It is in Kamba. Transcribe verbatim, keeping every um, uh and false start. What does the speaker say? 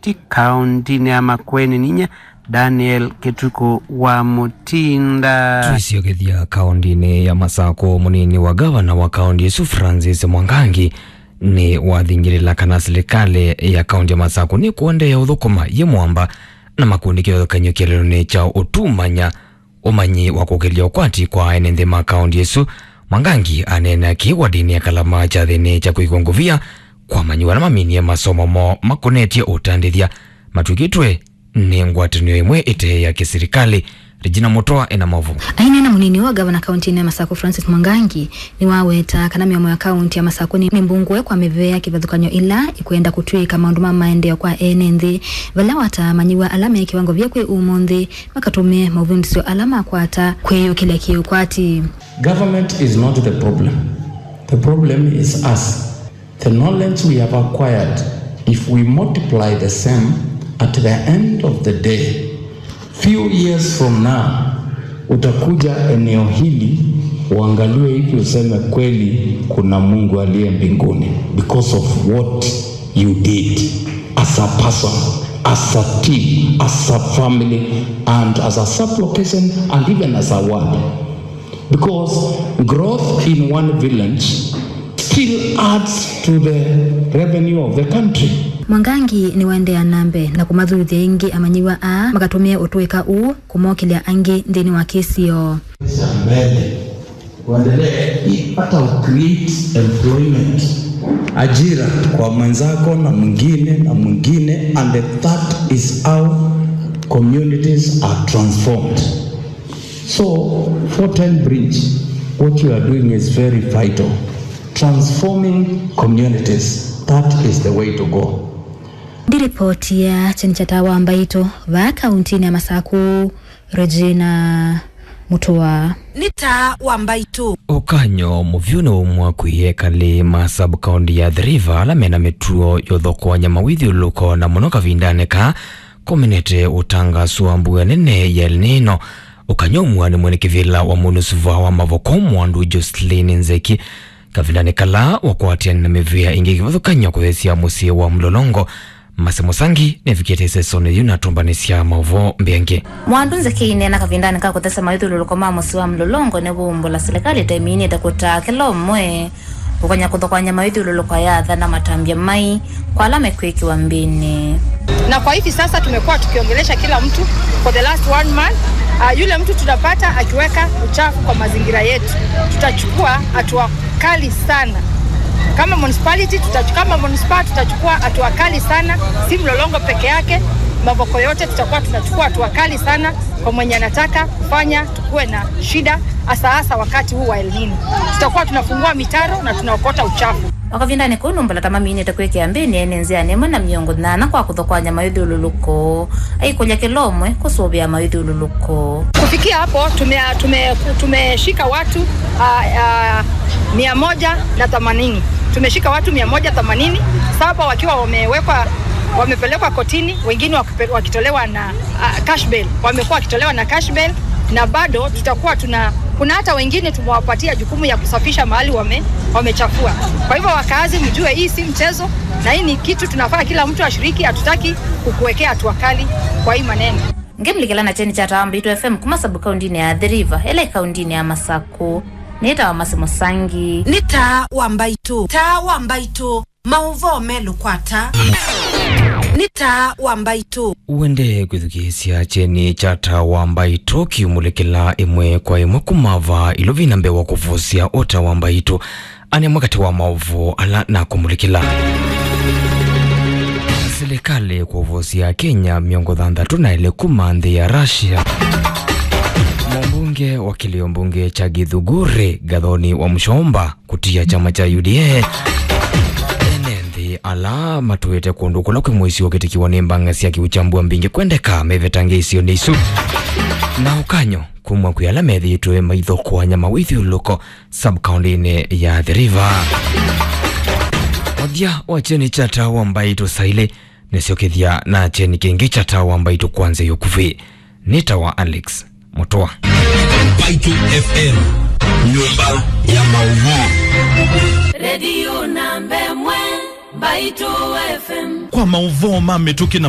Ti kaũntĩnĩ ya Makueni, ninyie Daniel Kĩtukũ wa Mũtinda. Twĩsyokethya kaũntĩnĩ ya Masakũ, mũnini wa ngavana wa kaũntĩ ĩsu Francis Mwangangi nĩwathingĩlĩla kana silikalĩ ya kaũntĩ ya Masakũ nĩkũendeea ũthũkũma yĩ mwamba na makundi kĩvathũkany'o kĩeleelonĩ kya ũtumanya ũmanyi wa kũkĩlya ũkwati kwa ene nthĩ ma kaũntĩ ĩsu. Mwangangi aneena kĩĩ wadinĩ ya Kalama kyathĩnĩ kya kwĩkwa ngũvia kwa amanyĩw'a ala maminie masomo moo makonetye ũtandĩthya matw'ĩkĩtwe nĩ ngwatanĩo ĩmwe ĩte ya kĩsilikalĩ. Regina Mũtwa ena maũvoo. Aineena mũnini wa ngavana kaũntĩnĩ ya Masakũ Francis Mwangangi, nĩwaweta kana mĩomo ya kaũntĩ ya Masakũ nĩ, nĩ mbungũe kwa mĩvea ya kĩvathũkany'o ĩla ĩkwenda kũtw'ĩĩka maũndũ ma maendeeo kwa ene nthĩ, vala wataa amanyĩw'a ala me kĩwango vya kwĩ ũmũnthĩ makatũmĩe maũvindũsyo ala makwata kwĩyũkĩlya kĩũkwati. Government is not the problem. The problem is us. The knowledge we have acquired, if we multiply the same, at the end of the day, few years from now, utakuja eneo hili, uangaliwe hivi, useme, "Kweli kuna Mungu aliye mbinguni," because of what you did as a person, as a team, as a family, and as a sub-location, and even as a ward. Because growth in one village still adds to the revenue of the country. Mwangangi nĩwaendeea na mbee na kũmathuthya ĩngĩ amanyĩw'a aa makatũmĩe ũtũĩka ũũ kũmokĩlya angĩ nthĩnĩ wa kĩsio. Mbele, kuendelee, hata ucreate employment, ajira kwa mwenzako na mwingine na mwingine, and that is how communities are transformed. So, four ten Bridge, what you are doing is very vital. Transforming communities, that is the way to go. Ndiripoti ya kyeni kya Taa wa Mbaitũ vaa kaũntĩnĩ ya Masakũ, Regina Mũtũa. Nĩ Taa wa Mbaitũ. Ũkany'o mũvyũ nĩ ũmwe kwĩ ekalĩ ma sub-county ya Athi River ala mena mĩtuo ya ũthokoany'a mawĩthyũlũlũko, na mũno kavindanĩ kaa kũminĩte ũtangaso wa mbua nene ya El Nino. Ũkany'o ũmwe nĩ mwene kĩvĩla wa MONUSVA wa Mavoko, Mwandu Jocelyn Nzeki, kavindanĩ kala wakwatĩanĩ na mĩvĩa ĩngĩ kĩvathũkany'o kũthesya mũsyĩ wa Mlolongo. Mase Mũsangi nĩvikĩte ĩsesonĩ yĩu na atũmbanĩsya maũvoo mbeange. Mwandu Nzeki aineena kavindanĩ ka kũthesya mawĩthyũlũlũko ma mũsyĩ wa Mlolongo nĩwaumbũla silikalĩ ĩtaiminĩte kũtaa kĩla ũmwe kũkany'a kũthokoany'a mawĩthyũlũlũko ya atha na matambya mai kwa ala mekwĩkĩwa mbĩnĩ. Na kwa hivi sasa tumekuwa tukiongelesha kila mtu for the last one month. Ah, yule mtu tunapata akiweka uchafu kwa mazingira yetu, tutachukua hatua kali sana. Kama municipality, tutach-, kama municipal tutachukua hatua kali sana. Si Mlolongo peke yake, Mavoko yote tutakuwa tunachukua hatua kali sana kwa mwenye anataka kufanya tukuwe na shida, hasa hasa wakati huu wa El Nino. Tutakuwa tunafungua mitaro na tunaokota uchafu. O kavindanĩ kau, nũmbala ta maminĩte kwĩkĩa mbĩnĩ ene nzĩanĩ ĩmwe na mĩongo nyanya kwa kũthokoany'a mawĩthyũlũlũko, aikũlya kĩla ũmwe kũsũvĩa mawĩthyũlũlũko. Kufikia hapo, tume-, tume-, tumeshika watu, ah, ah, mia moja na themanini. Tumeshika watu mia moja themanini, saba wakiwa wamewekwa, wamepelekwa kotini, wengine wakipe-, wakitolewa na, ah, cash bail. Wamekuwa wakitolewa na cash bail, na bado tutakuwa tuna, kuna hata wengine tumewapatia jukumu ya kusafisha mahali wame-, wamechafua. Kwa hivyo, wakaazi, mjue hii si mchezo, na hii ni kitu tunafaa kila mtu ashiriki. Hatutaki kukuwekea hatua kali kwa hii maneno. Ngĩmlikĩla na kyeni kya Taa wa Mbaitũ F M kuma sub-kaũntĩnĩ ya Athi River, ĩla ĩ kaũntĩnĩ ya Masakũ, nĩtawa Mase Mũsangi. Nĩ Taa wa Mbaitũ. Taa wa Mbaitũ. Maũvoo melũ kwa taa. Nĩ Taa wa Mbaitũ. Ũendee kwĩthukĩĩsya kyeni kya Taa wa Mbaitũ kiumũlĩkĩla ĩmwe kwa ĩmwe kuma vaa ĩlovi na mbee wa kũvosya o Taa wa Mbaitũ. Ane mwakati wa maũvoo ala nakũmũlĩkĩla. Silikalĩ kũvosya Kenya mĩongo thanthatũ na elĩ kuma nthĩ ya Russia. Mũmbunge wa kĩlĩo mbunge kya Gĩthũngũrĩ, Gathoni wa Mũchomba, kũtia kyama kya U D A. Ene nthĩ ala matũĩte kũndũ kũla kwĩ mũisyo ũkĩtĩkĩwa nĩ mbanga sya kĩu kya mbua mbingĩ kwendeka mevetangĩĩsyo nĩ isu. Na ũkany'o kumwa kwĩ ala methĩĩtwe maithokoany'a mawĩthyũlũlũko sub-kaũntĩnĩ ya Athi River. Mũthya wa kyeni kya Taa wa Mbaitũ saa ilĩ, nĩsyokethya na kyeni kĩngĩ kya Taa wa Mbaitũ kwa nzĩa ya ũkuvĩ. Nĩtawa Alex Mũtũa. Mbaitũ F M, nyũmba ya maũvoo. Redio namba ĩmwe. Mbaitũ F M. Kwa maũvoo ma mĩtũkĩ na